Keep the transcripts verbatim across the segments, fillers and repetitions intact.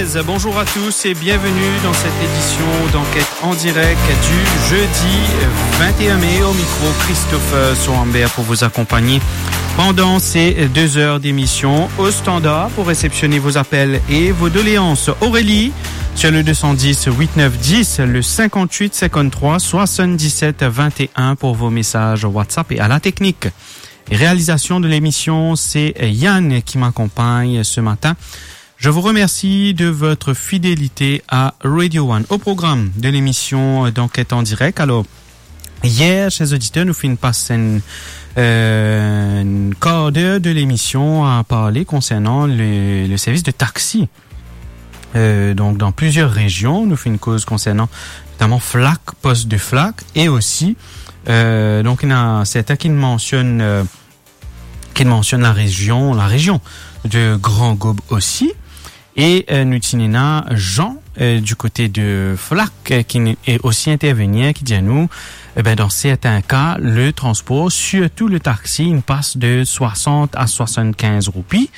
Bonjour à tous et bienvenue dans cette édition d'Enquête en direct du jeudi vingt et un mai. Au micro, Christopher Soambert pour vous accompagner pendant ces deux heures d'émission. Au standard pour réceptionner vos appels et vos doléances, Aurélie, sur le deux cent dix, huit neuf dix, le cinquante-huit cinquante-trois soixante-dix-sept vingt et un pour vos messages WhatsApp et à la technique et réalisation de l'émission, c'est Yann qui m'accompagne ce matin. Je vous remercie de votre fidélité à Radio One. Au programme de l'émission, euh, d'Enquête en direct. Alors, hier, chers auditeurs, nou finn pas enn, euh, enn quart d'heure de l'émission à parler concernant le, le service de taxi. Euh, donc, dans plusieurs régions, nou finn koz concernant notamment Flacq, poste de Flacq, et aussi, euh, donc, il y en a certains qui mentionnent, euh, ki mansionn larezion, larezion de Grand Gaube osi. E, euh, nou ti ena Jean, euh, du kote de Flacq, euh, ki n-, e osi intervenir, ki dir nou, e ben, dan sertin ka, le transpor, sirtou le taxi, inn pas de soixante à soixante-quinze roupi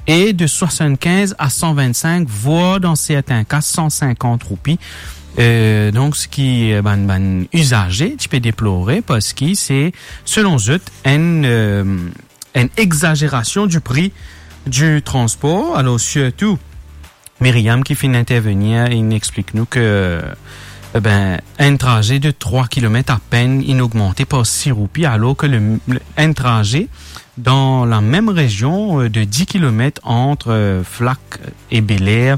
e de soixante-quinze à cent vingt-cinq, voir dan sertin ka, cent cinquante roupi. Euh, donk, seki, euh, bann, bann izaze ti pe deplore, parski se, selon zot, enn, euh, enn exagerasion du pri du transpor. Alor, sirtou, Myriam ki finn intervenir, inn explik nou ke, eh ben, enn traze de trwa kilomet apenn, inn ogmante par sis roupi, alor ke le, le, enn traze dan lamem rezion, euh, de dis kilomet ant, euh, Flacq e Bel Air,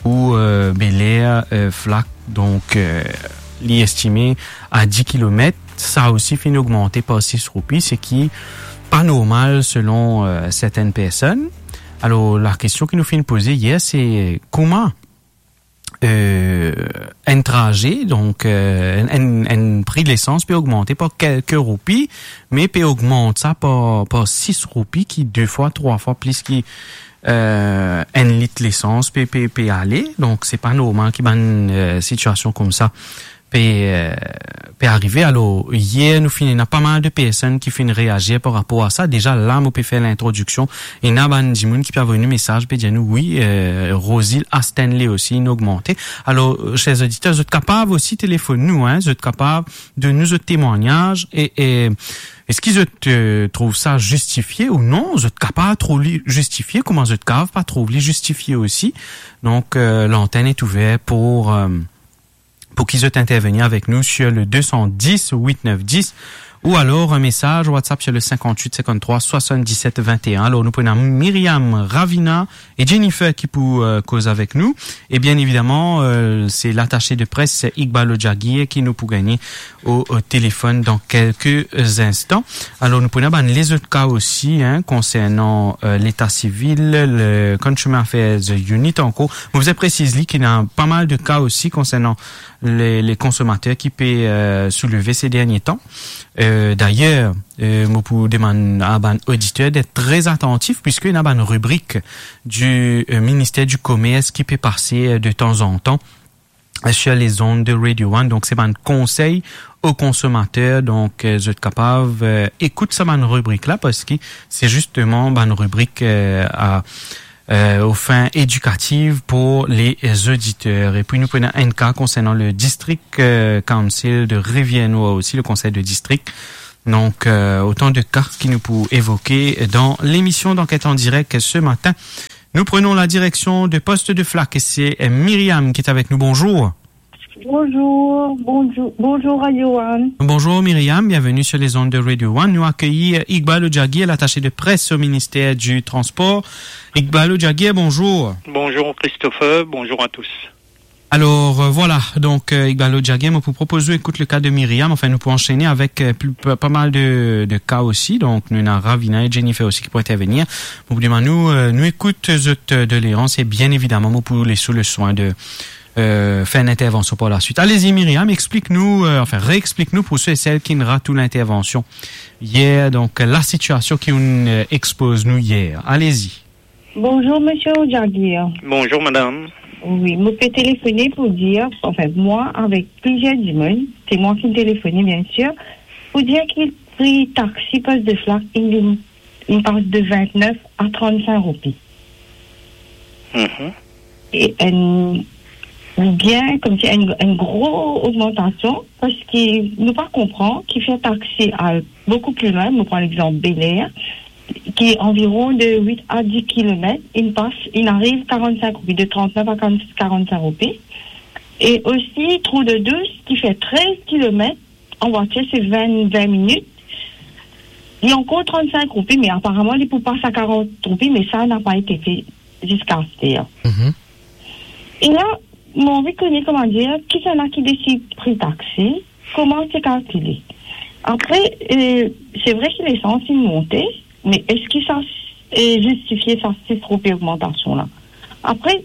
ou, euh, Bel Air, euh, Flacq, donk, euh, li estime a dis kilomet, sa osi finn ogmante par sis roupi, seki pa normal selon, euh, sertenn personn. Alor, lakestion ki nou finn poze yer, se kouma, euh, enn traze, donk, euh, enn, enn, enn pri lesans pe ogmante par kelke roupi, me pe ogmant sa par, par sis roupi, ki de fwa, trwa fwa plis ki, euh, enn lit lesans pe, pe, pe ale. Donk, se pa normal ki bann, euh, sitiasion koumsa pe, euh, pe arive. Alor, yer, nou finn ena pa mal de personn ki finn reazir par rapor a sa. Deza, la, mo pe fer lintrodiksion. Ena bann dimoun ki pe avoy nou mesaz, pe dir nou, wi, euh, Rosil Stanley osi, inn ogmante. Alor, euh, ser oditer, zot kapav osi telefonn nou, hein, zot kapav donn nou zot temwagnaz e, e eski zot, euh, trouv sa zistifie ou non? Zot kapav trouv li zistifie, kouma zot kapav pa trouv li zistifie osi. Donk, euh, lantenn est ouvert pour, euh, pour ki zot intervenir avek nou sur le deux cent dix huit neuf dix ou alors un message WhatsApp sur le cinquante-huit cinquante-trois soixante-dix-sept vingt et un. Alor, nou pou ena Myriam Ravina e Jennifer ki pou, euh, koz avek nou. E bien evidaman, euh, se latase de pres Iqbal Jagir ki nou pou gagne au, au téléphone dans quelques instants. Alor, nou pou ena bann lezot ka osi, hein, konsernan, euh, leta sivil, le Consumer Affairs Unit ankor. Mo bizin presiz li ki ena pa mal de ka osi konsernan le, le konsomater ki pe, euh, souleve se dernie tan. Euh, dayer, euh, mo pou demann a bann oditer d'être très attentifs, puisque ena bann ribrik du, euh, ministère du Commerce ki pe pase, euh, de temps en temps, euh, sur les ondes de Radio One. Donk, se bann konsey o konsomater. Donk, euh, zot kapav, euh, ekout sa bann ribrik la, parski se zisteman bann ribrik, euh, a, euh, aux fins éducatives pour les auditeurs. E pi, nou pou ena enn ka konsernan le District, euh, Council de Rivière-Noire osi, le konsey de distrik. Donk, euh, otan de ka ki nou pou evoke dan lemision d'Enquête en direct ce matin. Nous prenons la direction de poste de Flacq et c'est, euh, Myriam qui est avec nous. Bonjour. Bonjour, bonjour, bonjour Radio One. Bonjour Myriam, bienvenue sur les ondes de Radio One. Nou akeyir, euh, Iqbal Jagir, l'attaché de presse au ministère du Transport. Iqbal Jagir, bonjour. Bonjour Christopher, bonjour à tous. Alor, euh, vwala, donk, euh, Iqbal Jagir, mo pou propoz ou ekout le ka de Myriam. Anfin, nou pou ansene avek, euh, pli, pa, pa mal de, de ka osi. Donk, nou ena Ravina e Jennifer osi ki pou intervenir. Mo pou demann nou, euh, nou ekout zot, euh, doleans e bien evidaman, mo pou les ou le swin de, euh, fer enn intervansion par la suite. Alezi, Myriam, explik nou, euh, anfin, reexplik nou pou se e sel ki'nn rat ou lintervansion yer, donk, la sitiasion ki ou'nn, euh, expoz nou yer. Alezi. Bonjour, monsieur Jagir. Bonjour, madame. Wi, mo pe telefone pou dir, anfin, mwa avek plizier dimoun, se mwa ki telefone, biensir, pou dir ki pri taxi poste de Flacq, inn, inn pas de vintnef a trannsenk roupi. Mhm. e enn, oubien koumsi enn, enn gro ogmantasion, parski nou pa konpran ki fer taxi al boukou pli lwin. Nou pran lexanp Bel Air, ki anviron de wit a dis kilomet, inn pas, inn ariv karannsink roupi, de trantnef a karann-, karannsink roupi. E osi Trou de Douche, ki fer trez kilomet, an vwatir se vin, vin minit. Li ankor trannsink roupi, me aparaman li pou pas a karant roupi, me sa napa ete fe ziska aster. Mhm. E la, mo anvi kone, kouma dir, kisannla ki desid pri taxi, kouma se kalkile. Apre, eh, se vre ki lesans inn monte, me eski sa, eh, zistifie sa sis roupi ogmantasion la? Apre,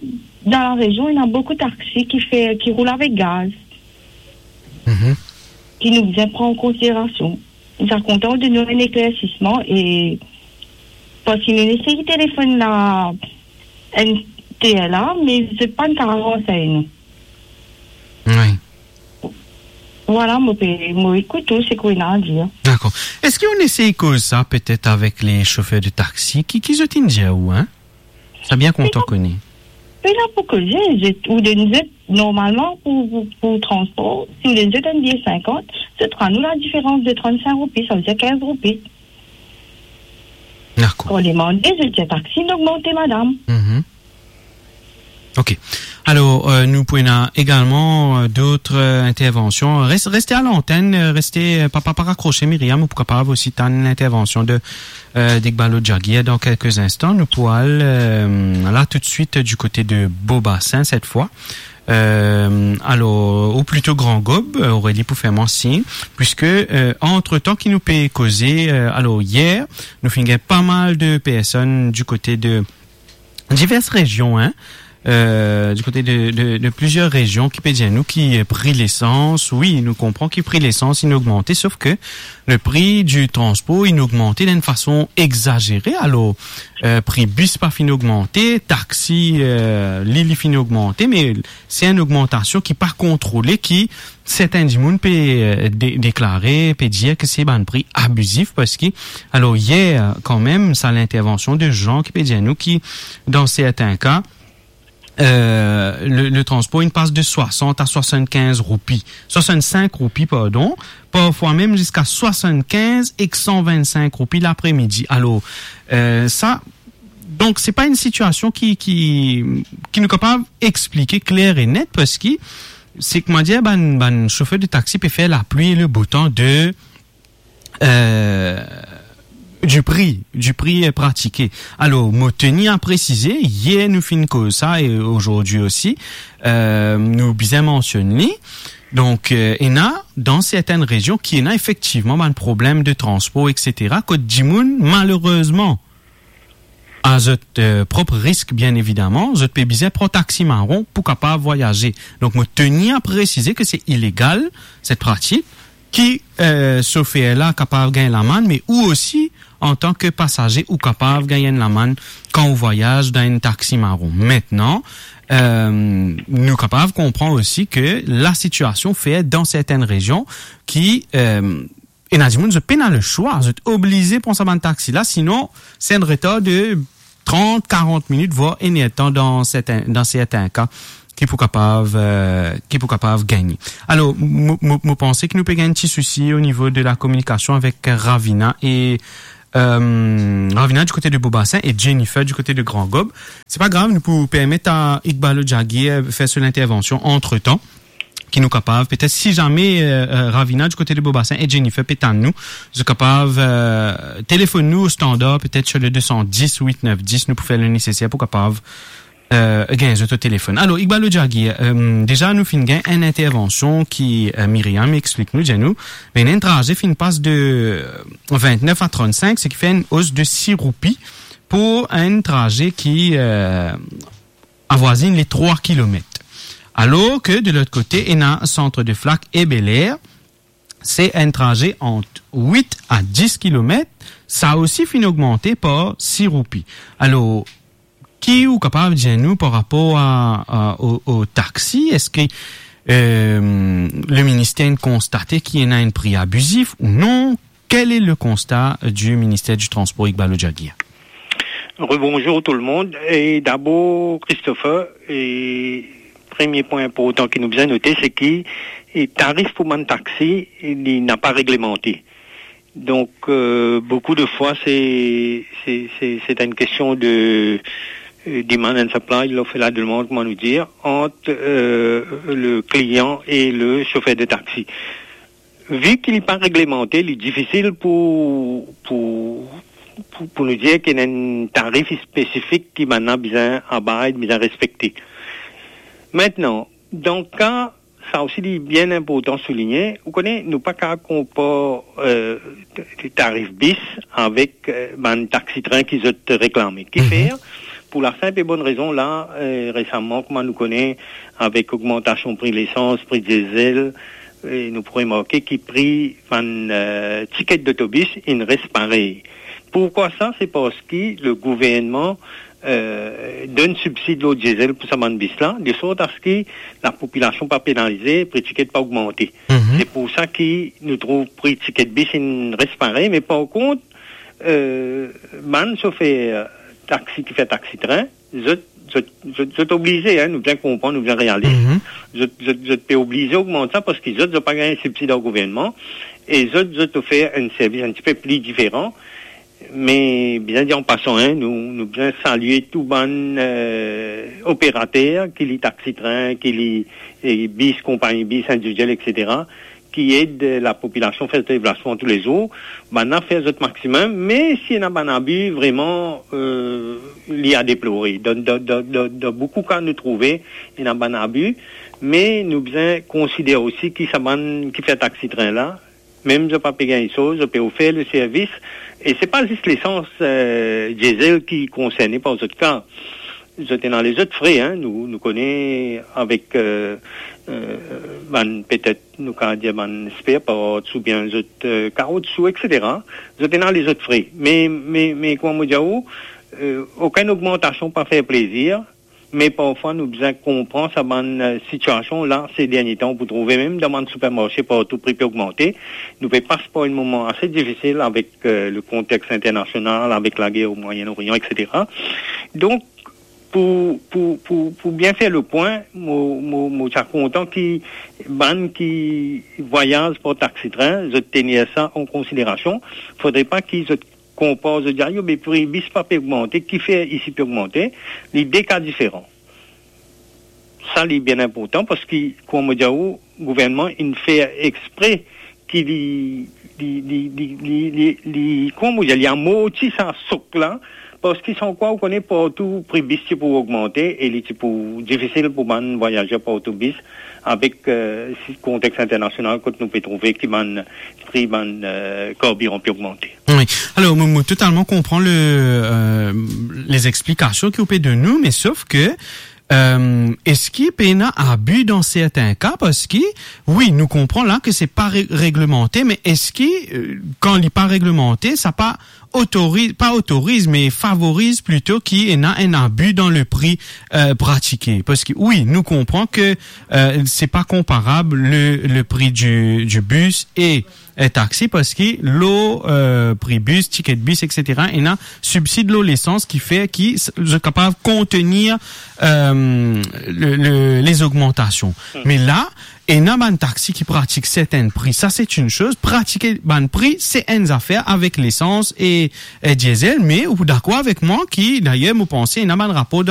dan la rezion, ena boukou taxi ki fer, ki roul avek gaz, Mhm. ki nou bizin pran an konsiderasion. Sa kontan donn nou enn eklersisman e, parski nou esey telefonn la N T L A, me zot pa'nn kapav ansegn nou. Wi. Vwala, mo pe, mo ekout ou, seki ou ena a dir. Dakor. Eski ou esey koz sa petet avek le sofer de taxi? Ki, ki zot inn dir ou, hein? Sa bien kontan kone. Pena pou koze, zot, ou donn zot, normalman, pou, pou, pou transpor, si ou donn zot enn bie sinkant, zot rann ou ladiferans de trannsink roupi, savedir kinz roupi. Dakor. Kan ou demande, zot dir taxi inn ogmante, madam. Mhm. Ok. Alor, euh, nou pou ena egalman, euh, dot, euh, intervansion. Res-, reste a lantenn, euh, reste, euh, pa, pa, pa rakrose, Myriam, ou pou kapav osi tann lintervansion de, euh, d'Iqbal Jagir dan kelke instan. Nou pou al, euh, la toutswit du kote de Beau Bassin, set fwa. Euh, alor, ou plito Grand Gaube, euh, Aurélie pou fer mwa sign, puiske, euh, antretan ki nou pe koze, euh, alor, yer, nou finn gagn pa mal de personn du kote de divers rezion, hein, euh, du kote de, de, de plizier rezion ki pe dir nou ki, euh, pri lesans, wi, nou konpran ki pri lesans inn ogmante, sof ke le pri du transpor inn ogmante dan enn fason egzazere. Alor, euh, pri bis pa finn ogmante, taxi, euh, li, li finn ogmante, me se enn ogmantasion ki pa kontrole, ki sertin dimoun pe, euh, de-, deklare, pe dir ke se bann pri abizif, parski, alor, yer, kanmem, sa lintervansion de Jean ki pe dir nou ki, dan sertin ka, euh, le, le transpor, inn pas de swasant a swasannkinz roupi, swasannsink roupi, pardon, parfwa mem ziska swasannkinz ek san vennsink roupi lapremidi. Alor, euh, sa, donk, se pa enn sitiasion ki, ki, ki nou kapav explike kler e net, parski se, kouma dir, bann, bann sofer de taxi pe fer lapli e le botan de, euh, du pri, du pri, euh, pratike. Alor, mo teni a presize, yer nou finn koz sa e azordi osi, euh, nou bizin mansionn li. Donk, euh, ena, dan sertin rezion, ki ena efektivman bann problem de transpor, et cetera, kot dimoun, malerezman, a zot, euh, prop risk, bien evidaman, zot pe bizin pran taxi maron pou kapav vwayaze. Donk, mo teni a presize ke se ilegal, set pratik, ki, euh, sofer la kapav gagn lamann, me ou osi, antan ke pasaze, ou kapav gagn enn lamann kan ou vwayaz dan enn taxi maron. Mintnan, euh, nou kapav konpran osi ke lasitiasion fer dan sertin rezion ki, euh, ena dimoun, zot pena leswa, zot oblize pran sa bann taxi la, sinon, se enn retar de trant, karant minit, vwar enn ertan dan sertin, dan sertin ka, ki pou kapav, euh, ki pou kapav gagne. Alor, mo, mo, mo panse ki nou pe gagn ti sousi o nivo de la kominikasion avek Ravina e, euh, Ravina du kote de Beau Bassin e Jennifer du kote de Grand Gaube. Se pa grav, nou pou permet a Iqbal Jagir fer so lintervansion antretan, ki nou kapav, petet si zame, euh, euh, Ravina du kote de Beau Bassin e Jennifer pe tann nou, zot kapav, euh, telefonn nou o standar, petet sur le deux cent dix huit neuf dix, nou pou fer le neseser pou kapav, euh, gagn zot o telefonn. Alor, Iqbal Jagir, euh, deza nou finn gagn enn intervansion ki, euh, Myriam explik nou, dir nou, be enn traze finn pas de, euh, vintnef a trannsink, seki fer enn os de sis roupi pou enn traze ki, euh, avwazinn le trwa kilomet. Alor ke de lot kote, ena Centre de Flacq e Bel Air, se enn traze ant wit a dis kilomet, sa osi finn ogmante par sis roupi. Alor, ki ou kapav dir nou par rapor a, a, o, o taxi? Eski, euh, le minister inn konstate ki ena enn pri abizif ou non? Quel est le constat du ministère du Transport, Iqbal Jagir? Rebonjour tout le monde. E dabor, Christopher, e premie pwin inportan ki nou bizin note, se ki, e, tarif pou bann taxi, e, li napa reglemante. Donk, e, boukou de fwa, se, se, se, se enn kestion de, e, demand and supply, l'offre et la demande, kouma nou dir, ant, e, le klian e le sofer de taxi. Vi ki li pa reglemante, li difisil pou, pou, pou, pou nou dir ki ena enn tarif spesifik ki bann la bizin abide, bizin respekte. Aster, dan ka, sa osi li bien inportan souligne, ou kone, nou pa kapav konpar, e, t-, t-, tarif bis avek, e, bann taxi tren ki zot reklame. Kifer, pou la sinp e bonn rezon la, e, resaman, kouma nou kone, avek ogmantasion pri lesans, pri diesel, e nou pou remarke ki pri bann, e, tiket dotobis inn res parey. Poukwa sa? Se parski le gouvernman, e, donn sibsid lor diesel pou sa bann bis la, de sort aski lapopilasion pa penalize, pri tiket pa ogmante. Se pou sa ki nou trouv pri tiket bis inn res parey, me par kont, e, bann sofer taxi ki fer taxi tren, zot, zot, zot, zot oblize, en, nou bien konpran, nou bien realis. Zot, zot, zot pe oblize ogmant sa parski zot, zot pa gagn sibsid ar gouvernman e zot, zot ofer enn servis enn tipe pli diferan. Me, bizin dir an pasan, en, nou, nou bizin salie tou bann, e, operater, ki li taxi tren, ki li, e, bis, konpagni bis individiel, etsetera, ki ed, e, lapopilasion fer deplasman toulezour. Bann la fer zot maximum, me si ena bann abi, vreman, e, li a deplore. Dan, dan, dan, dan, dan boukou ka nou trouve ena bann abi, me nou bizin konsidere osi ki sa bann ki fer taxi tren la, mem zot pa pe gagn soz, zot pe ofer le servis, e se pa zis lesans, e, diesel ki konserne par zot ka. Zot ena lezot fre, en, nou, nou kone avek, e, e, bann, petet nou kapav dir bann spare parts oubien zot, e, kaoutchou, etsetera. Zot ena lezot fre. Me, me, me kouma mo dir ou, e, okenn ogmantasion pa fer plezir, me parfwa nou bizin konpran sa bann, e, sitiasion la, se dernie tan, ou pou trouve mem dan bann sipermarse partou pri pe ogmante. Nou pe pas par enn moman ase difisil avek, e, le kontex internasional, avek lager o Moyen Orient, etsetera. Donk, pou, pou, pou, pou bien fer le pwin, mo, mo, mo ti a kontan ki bann ki vwayaz par taxi tren, zot tenir sa an konsiderasion. Fodre pa ki zot konpar, zot dir, "Ayo, me pri bis pa pe ogmante, kifer isi pe ogmante?" Li de ka diferan. Sa, li bien inportan, parski, kouma mo dir ou, gouvernman inn fer expre ki li, li, li, kouma mo dir, li amorti sa sok la, parski san kwa, ou kone, partou pri bis ti pou ogmante e li ti pou difisil pou bann vwayazer par otobis avek, e, si kontex internasional kot nou pe trouve ki bann pri bann, e, karbiran pe ogmante. Wi. Alor, mo, mo totalman konpran le, e, lezexplikasion ki ou pe donn nou, me sof ke, e, eski pena abi dan sertin ka? Parski, wi, nou konpran la ke se pa re-, reglemante, me eski, e, kan li pa reglemante, sa pa otori-, pa otoriz, me favoriz plito ki ena enn abi dan le pri, e, pratike? Parski, wi, nou konpran ke, e, se pa konparab le, le pri di, di bis e, e, taxi, parski lor, e, pri bis, tiket bis, etsetera, ena sibsid lor lesans ki fer ki s-, zot kapav kontenir, e, le, le, lezogmantasion. Me la, ena bann taxi ki pratik sertin pri. Sa, se enn soz. Pratike bann pri, se enn zafer avek lesans e, e, diesel. Me ou dakor avek mwa ki, dayer, mo panse, ena bann rapor dan